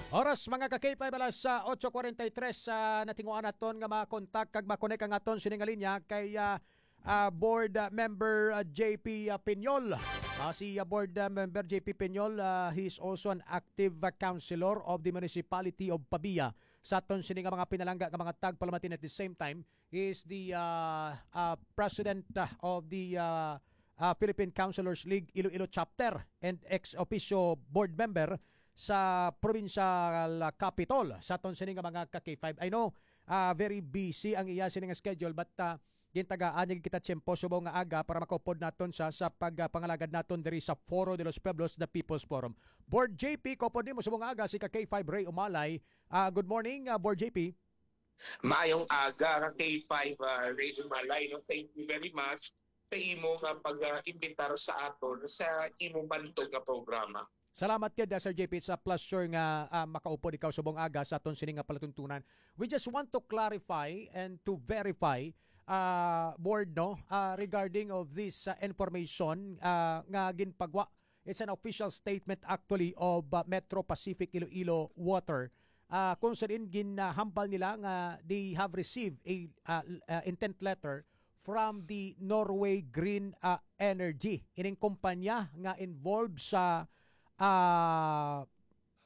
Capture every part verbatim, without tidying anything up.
Oras, mga ka-K five, alas, ah, otso kuwarenta y tres, ah, natinguan naton nga makontak kag makonek ang aton sini nga linya kay, ah, ah, Board, ah, Member, ah, J P, ah, Piñol. Ah, si, ah, Board, ah, Member J P Piñol, ah, he is also an active, ah, councilor of the Municipality of Pavia. Sa aton sini nga mga pinalangga nga mga tagpalamatin, at the same time, he is the, ah, ah, president, ah, of the, ah, ah, Philippine Councilors League Iloilo Chapter and ex officio board member sa provincial, ah, capitol. Sa aton sini nga mga ka-K five, I know, ah, very busy ang iya sini nga schedule, but, ah, gintagaan niya kita tiyempo subong nga aga para makaupod naton sa, sa pagpangalagad naton diri sa Foro de los Pueblos, the People's Forum. Board J P, kaupod nimo subong nga aga si ka-K five Ray Umalay. Ah, good morning, ah, Board J P. Maayong aga, ka-K five, ah, Ray Umalay, no? Thank you very much sa imo nga pag, ah, imbitar sa aton sa imo bantog nga programa. Salamat gid, ah, Sir J P. It's a pleasure nga, ah, makaupod ikaw subong aga sa aton sini nga palatuntunan. We just want to clarify and to verify, ah, Board, no, ah, regarding of this, ah, information, ah, nga ginpagwa. It's an official statement actually of, ah, Metro Pacific Iloilo Water, ah, kung sa diin ginhambal nila nga they have received a, ah, ah, intent letter from the Norway Green, ah, Energy, ining kumpanya nga involved sa, ah,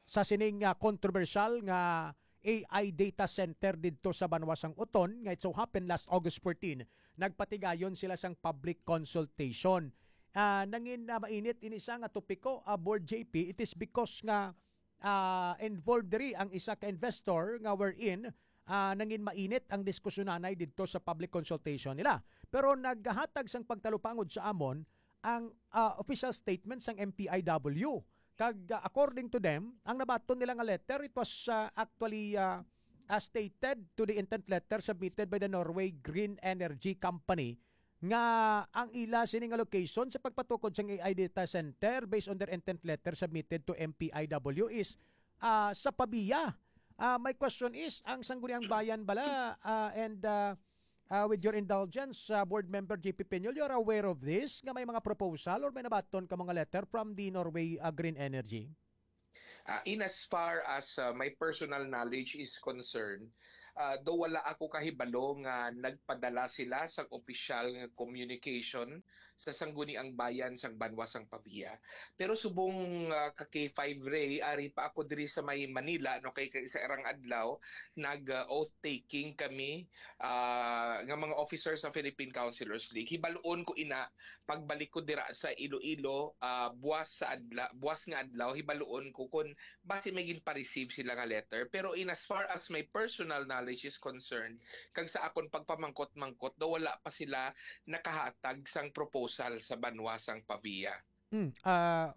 sa sining, ah, kontrobersyal nga A I data center didto sa banwa sang Oton, nga it so happened last August fourteen, nagpatigayon sila sang public consultation. Ah, nangin, ah, mainit ini sa nga topiko, ah, Board J P, it is because nga, ah, involved diri ang isa ka investor nga wherein, ah, nangin mainit ang diskusyonan didto sa public consultation nila. Pero naghatag sang pagtalupangod sa amon ang, ah, official statement sang M P I W. Kag, ah, according to them, ang nabaton nila nga letter, it was, ah, actually, ah, ah, stated to the intent letter submitted by the Norway Green Energy Company nga ang ila sini nga location sa pagpatukod sang A I data center based on their intent letter submitted to M P I W is, ah, sa Pavia. Ah, my question is, ang Sangguniang Bayan bala, ah, and, ah, ah, with your indulgence, ah, Board Member J P Piñol, you are aware of this, nga may mga proposal or may nabaton ka mga letter from the Norway, ah, Green Energy? Ah, in as far as, ah, my personal knowledge is concerned, ah, do wala ako kahibalo nga nagpadala sila sa opisyal nga communication sa Sangguniang Bayan sang banwa sang Pavia. Pero subong, ah, ka-K five Ray, ari pa ako diri sa may Manila, no, kay, kay sa irang adlaw, nag, ah, oath taking kami, ah, nga mga officers sa Philippine Councilors League. Hibaluon ko ina, pagbalik ko dira sa Iloilo, ah, buwas sa adla-, buwas nga adlaw, hibaluon ko kung basi may ginpa-receive sila nga letter. Pero in as far as my personal knowledge is concerned, kag sa akon pagpamangkot-mangkot, daw wala pa sila nakahatag sang proposal sa banwa sang Pavia. Mm, ah,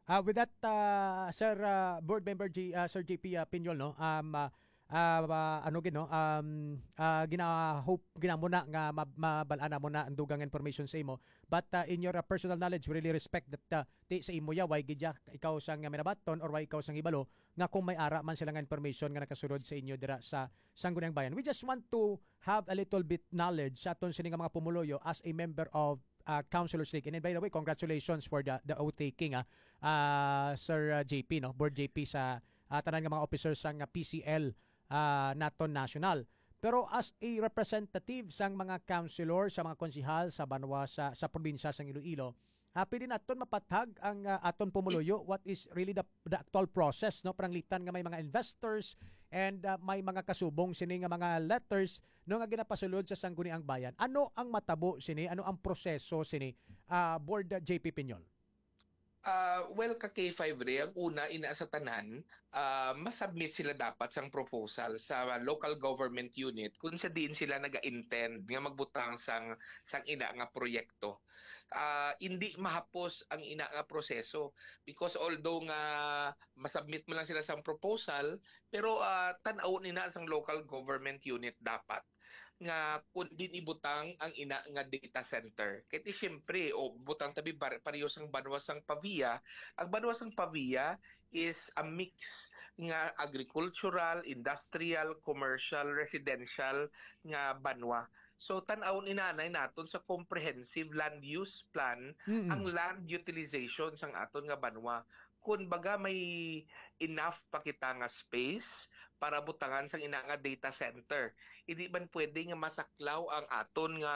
ah, with that, ah, Sir, ah, Board Member G-, ah, Sir J P, ah, Piñol, no? Um, ah, ah, ah, ano gid, no? Um, ah, gina-hope, ginamo na nga mab-, mabal-an namo na ang dugang information sa imo. But, ah, in your, ah, personal knowledge, we really respect that, ah, ti sa imo ya, why gid ya ikaw sang, ah, minabaton or why ikaw sang hibalo nga kung may ara man sila nga information nga nakasulod sa inyo dira sa Sangguniang Bayan. We just want to have a little bit knowledge sa aton sini nga mga pumuluyo as a member of, ah, Councilors League. And by the way, congratulations for the, the oath taking, ah, ah, Sir, ah, J P, no? Board J P sa, ah, tanan nga mga officers sang, ah, P C L, ah, naton national. Pero as a representative sang mga councilor, sa mga konsehal sa banwa, sa, sa probinsya sang Iloilo, ah, pwede naton mapathag ang, ah, aton pumuluyo, what is really the, the actual process, no? Pananglitan nga may mga investors and, ah, may mga kasubong sini nga mga letters, no, nga ginapasulod sa Sangguniang Bayan. Ano ang matabo sini? Ano ang proseso sini, ah, Board, ah, J P Piñol? Ah, well, ka-K five Ray, ang una, ina sa tanan, ah, masubmit sila dapat sang proposal sa local government unit kung sa diin sila naga-intend nga magbutang sang, sang ina nga proyekto. Ah, hindi mahapos ang ina nga proseso because although nga masubmit man lang sila sang proposal, pero, ah, tan-aw nina sang local government unit dapat nga kung diin ibutang ang ina nga data center. Kay ti siyempre, o butang tabi bar-, pareho sang banwa sang Pavia, ang banwa sang Pavia is a mix nga agricultural, industrial, commercial, residential nga banwa. So, tan-awon inanay naton sa comprehensive land use plan Mm-mm. ang land utilization sang aton nga banwa. kun baga may enough pa kita nga space para butangan sang ina nga data center. Hindi man pwede nga masaklaw ang aton nga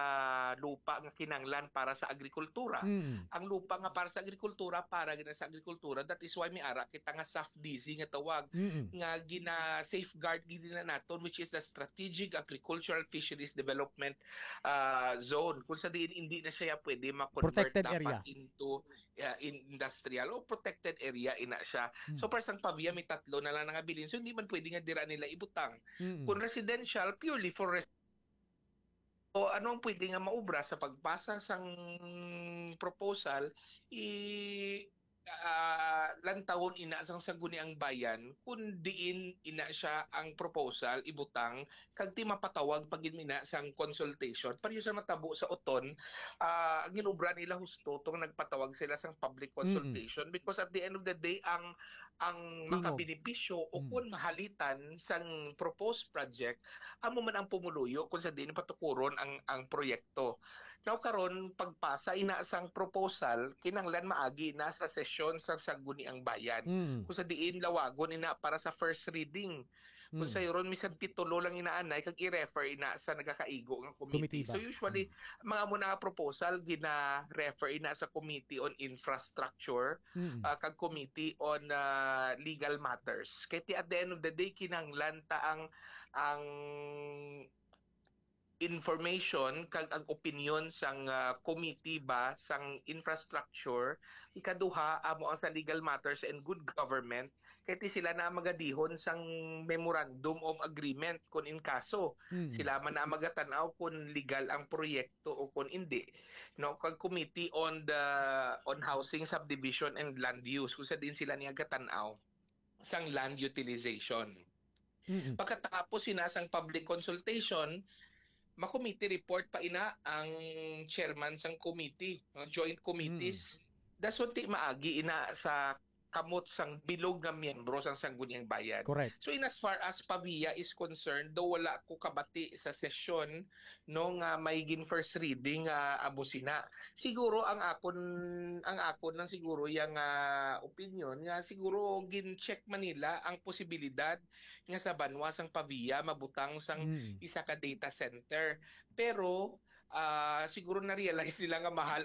lupa nga kinanglan para sa agrikultura. Mm. Ang lupa nga para sa agrikultura, para gina sa agrikultura. That is why may ara kita nga SAFDISI nga tawag, Mm. nga gina-safeguard gid na naton, which is the Strategic Agricultural Fisheries Development ah, Zone, kung sa diin hindi na siya pwede ma-convert Protected dapat area. into ah, in- industrial o protected area ina siya. Mm. So, para sang pavia, may tatlo na lang nga bilin. So, hindi man pwede nga dira nila ibutang. Mm. Kung residential, purely for res- o ano ang pwede nga maubra sa pagpasa sang proposal, i ah, lantawon ina sang Sangguniang Bayan kung diin ina siya ang proposal ibutang, kag ti mapatawag pa gid mina sang consultation. Pareho sa matabo sa Oton, ah, ang ginobra nila husto tong nagpatawag sila sang public consultation, because at the end of the day, ang ang Tingog. makabenepisyo o Mm. kung mahalitan sang proposed project, amo man ang pumuluyo kung sa diin patukuron ang ang proyekto. Now karon, pagpasa ina sang proposal, kinahanglan maagi na sa sesyon sa Sangguniang Bayan. Mm. Kung sa diin lawagon ina para sa first reading. Kung Mm. sa ron, misan titulo lang inaanay kag i-refer ina sa nagakaigo nga committee. Committee ba? So usually, mga mo na nga proposal gina-refer ina sa Committee on Infrastructure, Mm. ah, kag Committee on ah, Legal Matters. Kay ti at the end of the day, kinahanglan ta ang ang information kag ang opinion sang ah, committee ba sang infrastructure, ikaduha amo ang sa legal matters and good government, kay ti sila na ang magadihon sang memorandum of agreement kun in kaso. Mm. Sila man na ang magatan-aw kun legal ang proyekto o kun indi, no? Kag committee on the on housing, subdivision and land use, kung sa diin sila niya gatan-aw sang land utilization. Mm. Pagkatapos ina sang public consultation, ma-committee report pa ina ang chairman sang committee, no? Joint committees. Dason ti maagi ina sa kamot sang bilog nga miyembro sang Sangguniang Bayan. Correct. So in as far as Pavia is concerned, do wala ko kabati sa sesyon, no, nga may gin first reading nga amo sina. Siguro ang akon ang akon lang siguro yang ah, opinion nga siguro gin-check man nila ang posibilidad nga sa banwa sang Pavia mabutang sang Mm. isa ka data center. Pero ah, siguro na-realize nila nga mahal